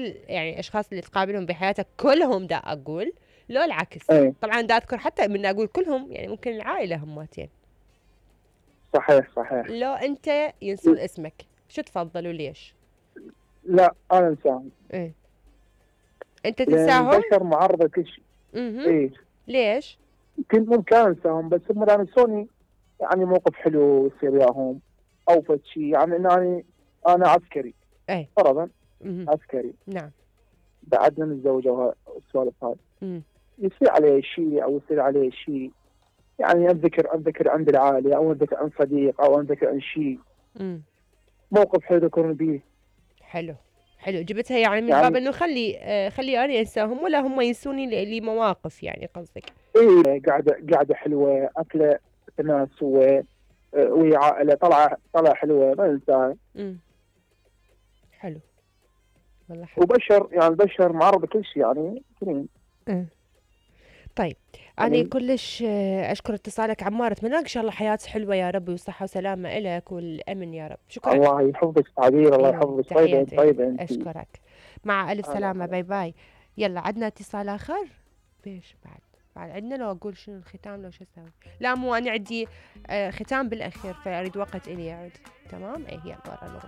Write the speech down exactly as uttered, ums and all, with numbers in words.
كل يعني الاشخاص اللي تقابلهم بحياتك كلهم دا اقول، لو العكس؟ ايه طبعا دا اذكر حتى من اقول كلهم يعني ممكن العائله هماتين. صحيح صحيح. لو انت ينسون اسمك شو تفضل وليش؟ لا انا انسان. ايه انت لان تنساهم؟ البشر معرضه لكل شيء. اها. ايه ليش؟ كنت ممكن انساهم بس هم ينسوني، يعني موقف حلو يصير وياهم او فد شيء، يعني انني انا عسكري ايه. فرضا، اها. عسكري نعم. بعدنا متزوجه والسوالف هاي، امم. يصير عليه شيء او يصير عليه شيء، يعني اتذكر اتذكر عند العائله او اتذكر عن صديق او اتذكر عن شيء امم. موقف حلو ذكرني به. حلو. حلو جبتها يعني من باب يعني انه خلي آه خلي انا انساهم ولا هم ينسوني ل- لمواقف يعني قصدك. ايه قاعده قاعده حلوه، اكله تناسوه، آه، ويا عائله طلعه طلعه حلوه ما انساها. امم. حلو. والله حلو. وبشر يعني البشر معرض لكل شيء يعني كريم. امم. طيب أنا يعني كلش آه، أشكر اتصالك عمار، أتمنى لك إن شاء الله حياة حلوة يا رب وصحة وسلامة إلك والأمن يا رب. شكرا. الله يحفظك تعبير، الله أيوة يحفظك، طيبه تحياتي طيبه إلك، انت. أشكرك. مع ألف هلا سلامة، هلا. باي باي. يلا عندنا اتصال آخر. بيش بعد بعد عندنا لو أقول شنو الختام لو شو أسوي؟ لا مو أنا عندي آه ختام بالأخير فأريد وقت إلي يعود. تمام إيه يلا ورا